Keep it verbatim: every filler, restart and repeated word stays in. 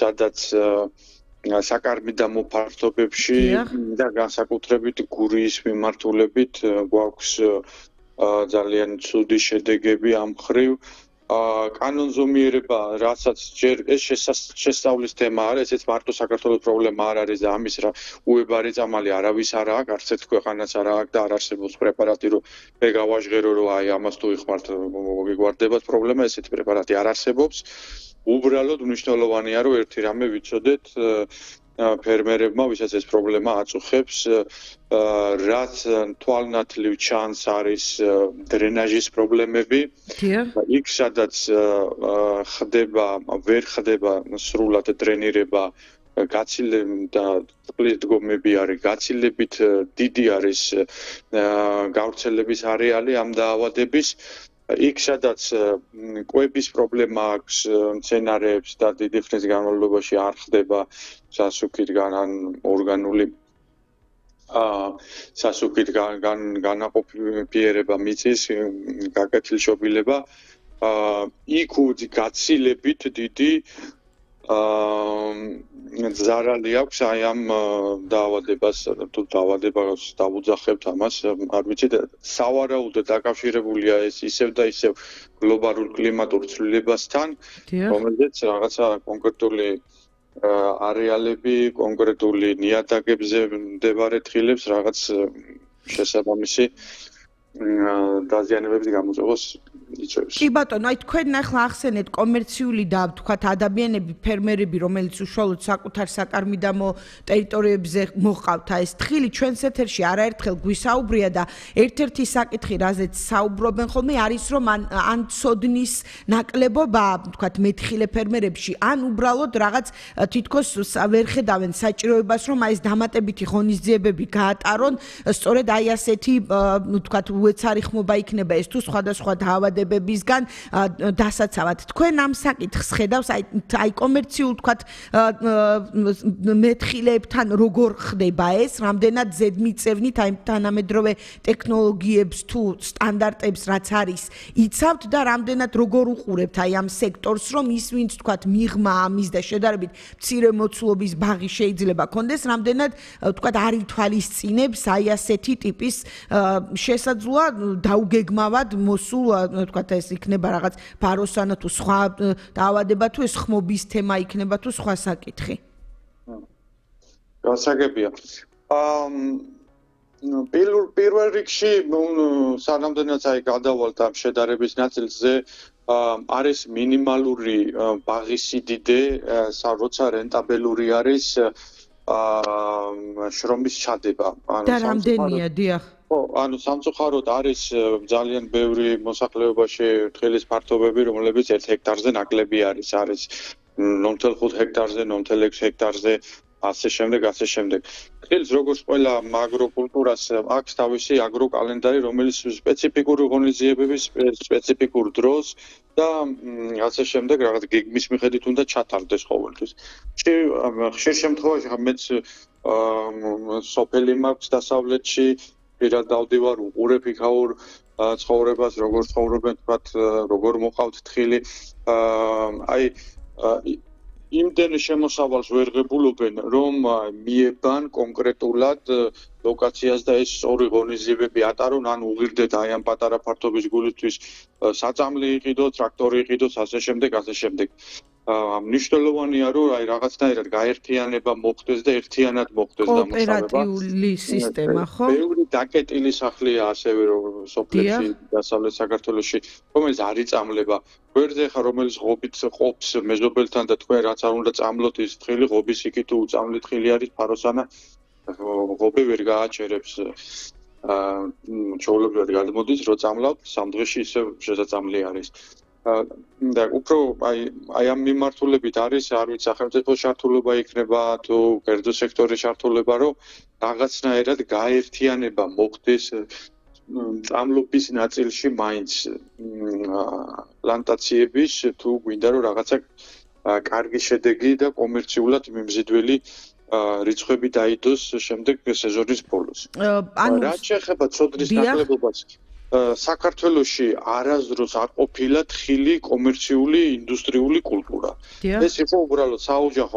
სადაც საკარმიდამო მოფართობებში და განსაკუთრებით გურიის მიმართულებით გვაქვს ძალიან ცუდი შედეგები ამ მხრივ. კანონზომიერება, რასაც ჯერ ეს შესწავლის თემა არის, ესეც მარტო საქართველოს პრობლემა არ არის და ამის რა უებარი წამალი არავის არ აქვს, არც ერთ ქვეყანას არ აქვს და არ არსებობს პრეპარატი, რომ მე გავაჟღერო, რომ აი ამას თუ იხმართ, მოგიგვარდებათ პრობლემა, ესეთი პრეპარატი არ არსებობს. უბრალოდ მნიშვნელოვანია, რომ ერთი რამე ვიცოდეთ ფერმერებმა, ვისაც ეს პრობლემა აწუხებს, რაც თვალნათლივ ჩანს არის დრენაჟის პრობლემები. იქ სადაც ხდება, ვერ ხდება სრულად დრენირება, გაცილებით და წყლის დგომები არის, გაცილებით დიდი არის გავრცელების არეალი ამ დაავადების. იქ სადაც კვების პრობლემა აქვს მცენარეებს და დიდი ხნის განმავლობაში არ ხდება სასუქითგან ან ორგანული სასუქით განაყოფიერება მიწის გაკეთილშობილება, იქ გაცილებით დიდი ზარალი აქვს აი ამ დაავადებას, თუ დაავადებას დავუძახებთ ამას, არ ვიცი, სავარაუდოდ დაკავშირებულია ეს ისევ და ისევ გლობალურ კლიმატურ ცვლილებასთან, რომელზეც რაღაცა კონკრეტული არეალები, კონკრეტული ნიადაგებზე მდებარე თხილებს რაღაც შესაბამისი დაზიანებების გამოწვევას იწვევს. კი ბატონო, აი თქვენ ახლა ახსენეთ კომერციული და თქვათ ადამიანები, ფერმერები, რომელიც უშუალოდ საკუთარ საკარმიდამო ტერიტორიებზე მოყავთ ეს თხილი, ჩვენს ეთერში არაერთხელ გვისაუბრია და ერთ-ერთი საკითხი, რაზეც საუბრობენ ხოლმე, არის რომ ან ცოდნის ნაკლებობა, თქვათ მეთხილე ფერმერებში, ან უბრალოდ რაღაც თითქოს ვერ ხედავენ საჭიროებას, რომ აი ეს დამატებითი ღონისძიებები გაატარონ, სწორედ აი ასეთი, ну, თქვათ უეცარი ხმობა იქნება ეს თუ სხვადასხვა დაავადებებისგან დასაცავად. თქვენ ამ საკითხს ხედავს, აი აი კომერციულ თქვათ მეთხილებთან როგორ ხდება ეს, რამდენად ზედმიწევნით აი თანამედროვე ტექნოლოგიებს თუ სტანდარტებს რაც არის, იცავთ და რამდენად როგორ უყურებთ აი ამ სექტორს, რომ ის ვინც თქვათ მიღმა ამის და შედარებით მცირე მოცულობის ბაღი შეიძლება კონდეს, რამდენად თქვათ არ ითვალისწინებს აი ასეთი ტიპის შესაძლოა დაუგეგმავად მოსულ, თქვათ ეს იქნება რაღაც ფაროსანა თუ სხვა დაავადება თუ ეს ხმობის თემა იქნება თუ სხვა საკითხი. გასაგებია. პირველ რიგში, სანამდენაც აი გადავალთ ამ შედარების ნაწილზე, არის მინიმალური ბაღის სიდიდე, როცა რენტაბელური არის შრომის ჩადება. და რამდენია, დიახ. ხო, ანუ სამწუხაროდ არის ძალიან ბევრი მოსახლეობაში თხილის ფართობები, რომლებიც ერთ ჰექტარზე ნაკლები არის, არის ნული ოცდაოთხ ჰექტარზე, ნული ექვსი ჰექტარზე, ასე შემდეგ, ასე შემდეგ. თხილს როგორც ყველა აგროკულტურას აქვს თავისი აგროკალენდარი, რომელიც სპეციფიკური ღონისძიებების სპეციფიკურ დროს და ასე შემდეგ რაღაც გეგმის მიხედვით უნდა ჩათარდეს ყოველთვის. ხშირ შემთხვევაში მეც სოფელი მაქვს დასავლეთში, პირად დავდივარ, უყურებ იქაურ ცხოვრებას, როგორ ცხოვრობენ, თქვათ, როგორ მოყავთ თხილი. აი იმდენ შემოსავალს ვერ ღებულობენ, რომ მიებან კონკრეტულად ლოკაციას და ეს სწორი ღონისძიებები ატარონ, ან უღირდეთ აი ამ პატარა ფართობის გულისთვის საწამლი იყიდოთ, ტრაქტორი იყიდოთ, ასე შემდეგ, ასე შემდეგ. მნიშვნელოვანია, რომ აი რაღაცნაირად გაერთიანება მოხდეს და ერთიანად მოხდეს დამუშავება. კოოპერატიული სისტემა, ხო? ბევრი დაკეტილი სახლია ასევე სოფლებში, დასავლეთ საქართველოში, რომელიც არ იწამლება. გვერდზე ხა რომელიც ღობით ყოფს მეზობელთან და თქვენ რაც არ უნდა წამლოთ ის თხილი, ღობის იქი თუ უწამლი თხილი არის ფაროსანა, ღობე ვერ გააჩერებს. ჩვეულებრივ გადმოდის, რომ წამლავთ, სამ დღეში ისევ შესაძლებელი არის. და უფრო აი აი ამ მიმართულებით არის, არ ვიცი, სახელმწიფო ჩართულობა იქნება თუ კერძო სექტორის ჩართულობა, რომ რაღაცნაირად გაერთიანება მოხდეს წამლობის ნაწილში მაინც პლანტაციების თუ გვინდა რომ რაღაცა კარგი შედეგი და კომერციულად მიმზიდველი რიცხვები დაიდოს შემდეგ სეზონის ბოლოს. ანუ რა შეეხება ცოდნის ნაკლებობას, საქართველოში არასდროს არ ყოფილა თხილი კომერციული ინდუსტრიული კულტურა. ეს იყო უბრალოდ საოჯახო